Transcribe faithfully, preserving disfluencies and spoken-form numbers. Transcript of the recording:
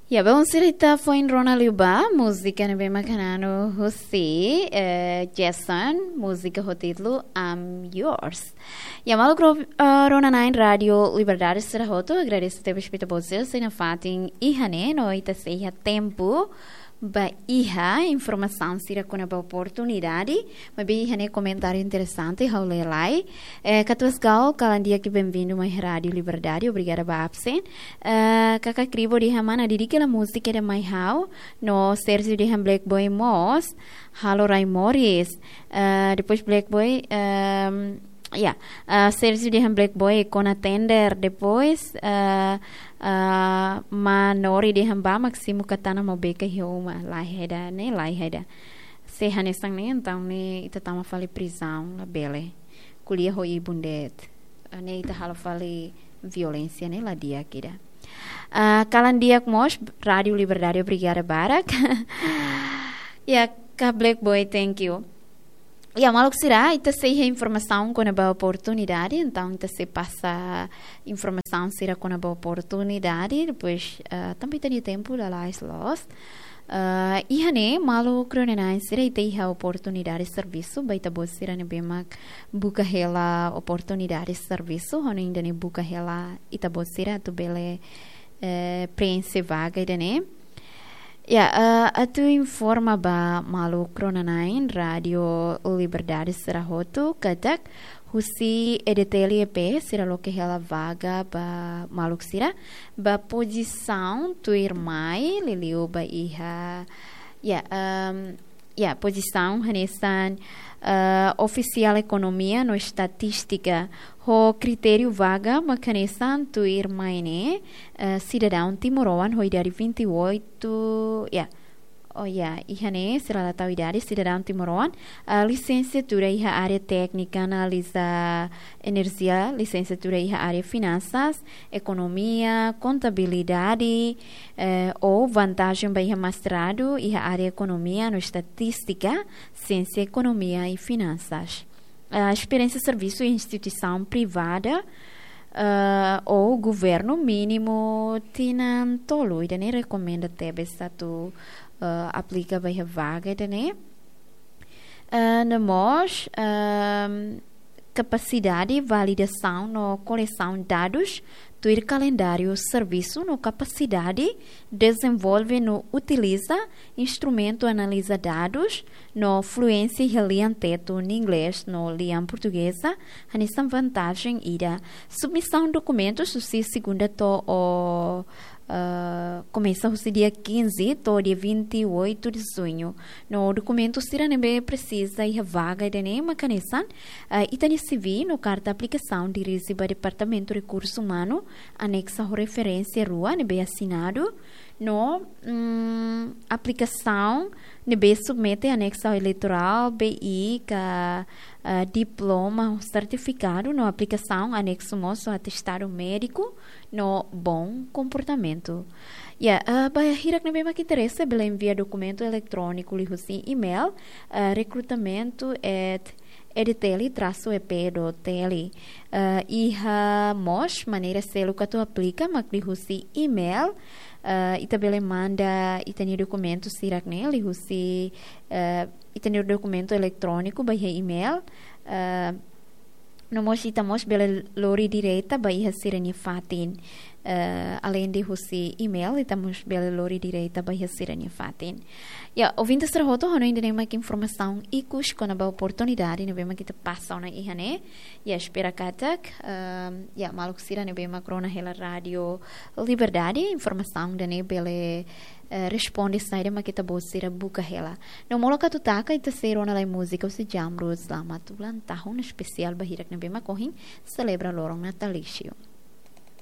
Ya, belun sira, ita foin rona liu ba múzika ne'ebé mak hananu husi, eh, Jason, múzika ho títulu I'm Yours. Ya, maluk ro-, eh, rona-na'in Rádiu Liberdade sira hotu, agradese tebes ba ita-boot sira sei nafatin iha ne'e, no ita sei iha tempu ba iha informasaun sira kona-ba oportunidade, maibé iha ne'e komentáriu interesante ha'u lee lai. Eh, Katuas Gal, kalan di'ak, benvindu mai Rádiu Liberdade, obrigada ba absen. Eh, Kaka Kribo dehan mana didik hela múzika ida mai ha'u, no Sérgio dehan Black Boy mós halo rai moris. Eh, depois Black Boy, ehm, ya, eh, Sérgio dehan Black Boy kona tender, depois, eh, eh, Manori dehan ba Máximo Katana mau beka iha uma, laiha ida ne'e, laiha ida. Se hanesan ne'e, entaun ne'e ita tama fali prizaun, labele. Ko'alia ho ibun de'it. Ah, ne'e ita halo fali violénsia ne'e la di'ak ida. Ah, kalan di'ak mós, Rádiu Liberdade, obrigada barak. Ya, Kaka Black Boy, thank you. Ya, maluk sira, ita sei iha informasaun kona-ba oportunidade, entaun ita sei pasa informasaun sira kona-ba oportunidade, depois, ah, tanba ita-nia tempu lalais loos. Ah, iha ne'e, maluk rona-na'in sira, ita iha oportunidade servisu ba ita-boot sira ne'ebé mak buka hela oportunidade servisu, hanoin ida-ne'e buka hela ita-boot sira atu bele, eh, preenxe vaga ida-ne'e. Ya, eh, atu informa ba maluk rona-na'in Rádiu Liberdade sira hotu katak husi E D T L E P sira loke hela vaga ba maluk sira ba pozisaun tuirmai, liuliu ba iha, ya, ehm, ya, pozisaun hanesan, eh, ofisiál ekonomia no estatístika, ho kritériu vaga mak hanesan tuirmai ne'e, eh, sidadaun timoroan ho idade vinte e oito, ya. Oh ya, iha ne'e, se la tau idade, sidadaun timoroan, eh, lisensiatura iha área téknika, analiza enerjia, lisensiatura iha área finansas, ekonomia, kontabilidade, eh, ou vantajen ba iha mestradu iha área ekonomia no estatístika, siénsia ekonomia i finansas. Ah, esperiénsia servisu iha instituisaun privada, ah, ou governu mínimu tinan tolu, ida-ne'e rekomenda tebes atu, ah, aplika ba iha vaga ida-ne'e. Ah, no mós, ahm, kapasidade validasaun no kolesaun dadus, tuir kalendáriu servisu no kapasidade dezenvolve no utiliza instrumentu analiza dadus, no fluénsia iha lian Tetun, Inglés no lian Portugeza, hanesan vantajen ida. Submisaun dokumentus husi segunda to'o, ah, komesa husi dia quinze to'o dia vinte e oito de junho. No dokumentu sira ne'ebé presiza iha vaga ida-ne'e mak hanesan, ah, ita-nia C V no karta aplikasaun dirije ba Departamentu Rekursu Umanu, anexa ho referénsia rua ne'ebé asinadu, no, mm, aplikasaun ne'ebé submete anexu eleitorál, B I ka, ah, diploma, sertifikadu, no aplikasaun anexu mós ho atestadu médiku no bom komportamentu. Ya, ah, ba hirak ne'ebé mak interese bele envia dokumentu eletróniku liuhusi email, ah, recrutamento at E D T L traço E P dot T L. Ah, iha mós maneira seluk atu aplika mak liuhusi email. Ah, ita bele manda ita-nia dokumentu sira-ne'e liuhusi, ah, ita-nia dokumentu eletróniku ba iha email. Ah, no mós ita mós bele lori direta ba iha sira-nia fatin. Eh, além de husi email, ita mós bele lori direta ba iha sira-nia fatin. Ya, ouvinte sira hotu, hanoin ida-ne'e mak informasaun ikus kona-ba oportunidade ne'ebé mak ita pasa ona iha ne'e. Ya, espera katak, ehm, ya, maluk sira ne'ebé mak rona hela Rádiu Liberdade, informasaun ida-ne'e bele, eh, responde saida mak ita-boot sira buka hela. No molok atu taka, ita sei rona lai múzika husi Jamrud, Selamat Ulang Tahun, espesiál ba hirak ne'ebé mak ohin selebra loron natalísiu.